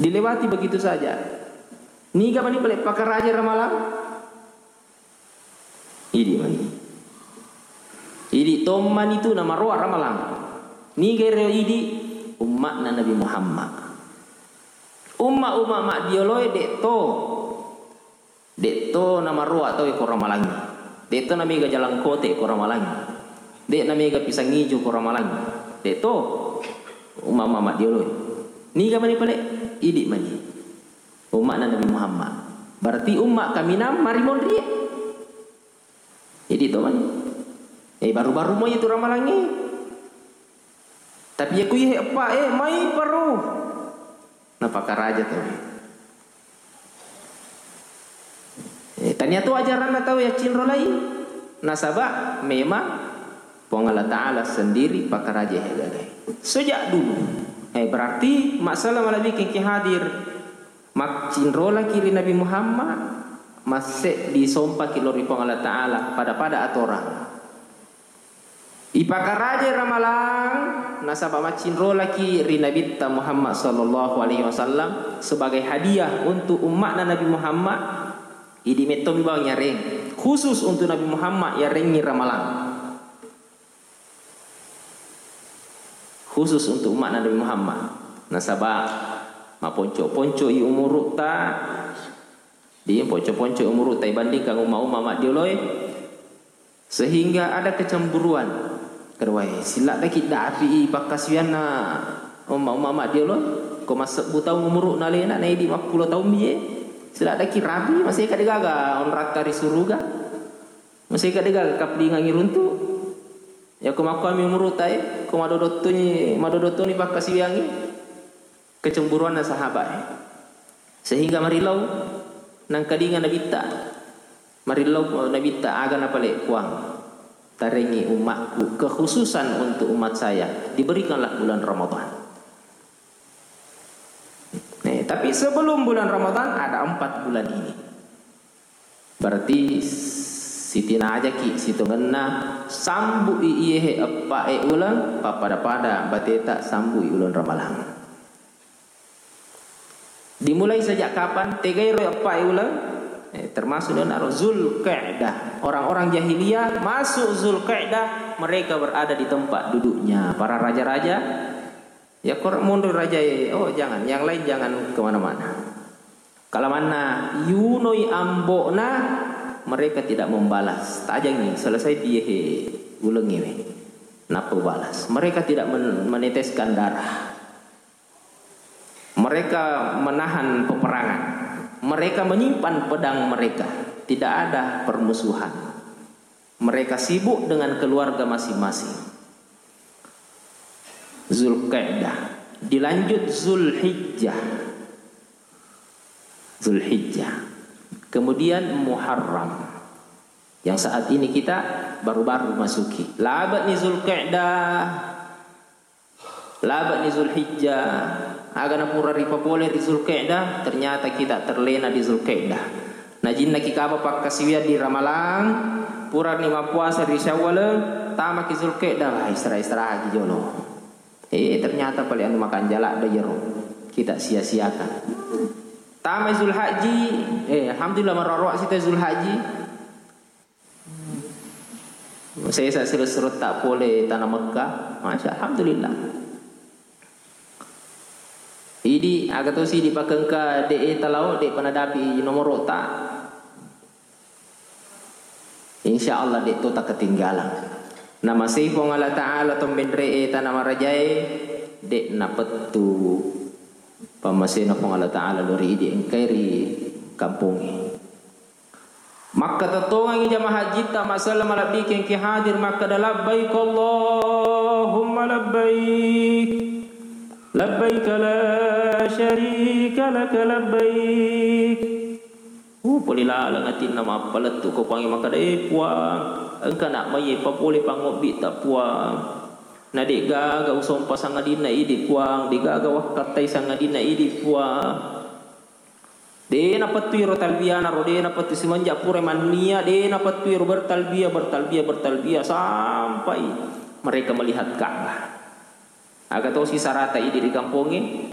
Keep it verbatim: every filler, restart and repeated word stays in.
Dilewati begitu saja. Niga mani pale pakaraja ramalang? Idi mani. Idi tommani tu namaroa ramalang. Niga ero idi? Umma'na Nabi Muhammad. Umma-umma maddioloe de' to. De' to namaroa tau ko ramalangngi. De' to namega jalangkote ko ramalangngi. De' namega pisang ijo ko ramalangngi. De' to. Umma-umma maddioloe. Niga mani pale? Idi mani. Umma'na Nabi Muhammad. Berarti umma kaminang marimonrie. Jadi to mani. Eh, baru-baru mo itu ramalangnge. Tapi ya kuihe eppa, eh, mai paru. Napakaraja to. Eh, tania tu ajaranna tau ya cinro lai. Nasaba memang Puang Allah Ta'ala sendiri pakaraja he gagai. Sejak dulu. Eh, berarti masalah malabikeng ki hadir. Maccinrolaki ri Nabi Muhammad, masseddi sompaki lao ri Puang Allah Ta'ala, pada-pada atorang. Ipakarajai ramalang, nasaba maccinrolaki ri Nabitta Muhammad sallallahu alaihi wasallam sebagai hadiah untuk umma'na Nabi Muhammad, idi mettomi bawang yareng, khusus untuk Nabi Muhammad yarengngi ramalang. Khusus untuk umma'na Nabi Muhammad. Nasaba maponco-ponco i umuru'ta, di ponco-ponco umuru'ta ibandingkan umma-umma maddioloe, sehingga ada kecemburuan. Keruae, siladdaki dapi i pakkasiwianna umma-umma maddioloe, ko massebbu taung umuru'na alena, naidi mappulo taung bie, siladdaki rapi, maseka degaga onratta ri suruga. Maseka degaga kaplingangi runtu. Yako makkuami umuru'ta e, ko madodottuni, madodottuni pakkasiwiangngi, kecemburuanna sahabat e. Sehingga marillau nangkalinga Nabitta. Marillau Nabitta, aga napale Puang. Tarengi ummakku, kekhususan untuk umat saya, diberikanlah bulan Ramadan. Nih, tapi sebelum bulan Ramadan ada empat bulan ini. Berarti sitinajaki sitongenna sambu'i iyehe eppa'e uleng, pappada-pada bateta sambu'i uleng Ramalang. Dimulai sejak kapan? Tegairo eppa'e uleng? Eh, termasuk naro Zulqa'dah. Orang-orang jahiliyah masuk Zulqa'dah, mereka berada di tempat duduknya. Para raja-raja, ya, kor-, monro rajae, oh, jangan, yang lain jangan kemana-mana. Kalamanna yunoi ambo'na, mereka tidak membalas. Tajangi, selesai piyehe ulengngewe. Nappa ubalas. Mereka tidak men-, meneteskan darah. Mereka menahan peperangan. Mereka menyimpan pedang mereka. Tidak ada permusuhan. Mereka sibuk dengan keluarga masing-masing. Zulqa'dah. Dilanjut Zulhijjah. Zulhijjah. Kemudian Muharram. Yang saat ini kita baru-baru masuki. Labe'ni Zulqa'dah. Labe'ni Zulhijjah. Aga napura ripapole ri Zulqa'dah, ternyata kita terlena di Zulqa'dah. Najinnaki kaba pakkasiwiang di Ramalang, purani mappuasa ri Syawal, tamaki Zulqa'dah, wah, istirahat-istirahatji jolo. Eh, ternyata pale anu makanjala da jero. Kita sia-siakan. Tamai Zulhajji, eh, alhamdulillah, marroa-roa sita Zulhajji. Sesa silessuretta pole tana Mekka, masya, alhamdulillah. Idi aga tosi dipakengka de e talao, de panadapi nomoro'ta. Insya Allah de to takketinggalang. Namasei Puang Allah Ta'ala to menre e tana marajae, de napettu pammasena Puang Allah Ta'ala lori idi engkai ri kampongnge. Makkatettongengngi jamaah hajjitta, massala malebbi kengki hadir, makkeda, "Labbaik Allahumma labbaik, labbaik la syarika laka labbaik." Uh, pole laleng atinna mappalettu ko Puangnge, makkeda, "Eh, Puang, engka nak maiye papole pangobbitta, Puang. Na de'gaga usompa sangadinna idi, Puang, de'gaga wakkattai sangadinna idi, Puang." De napettu iro talbiyana ro, de napettu, semenjak pura mannia, de napettu iro bertalbiyah, bertalbiyah, bertalbiyah sampai mereka melihat Ka'bah. Aga tosi sarata idi ri kampongnge,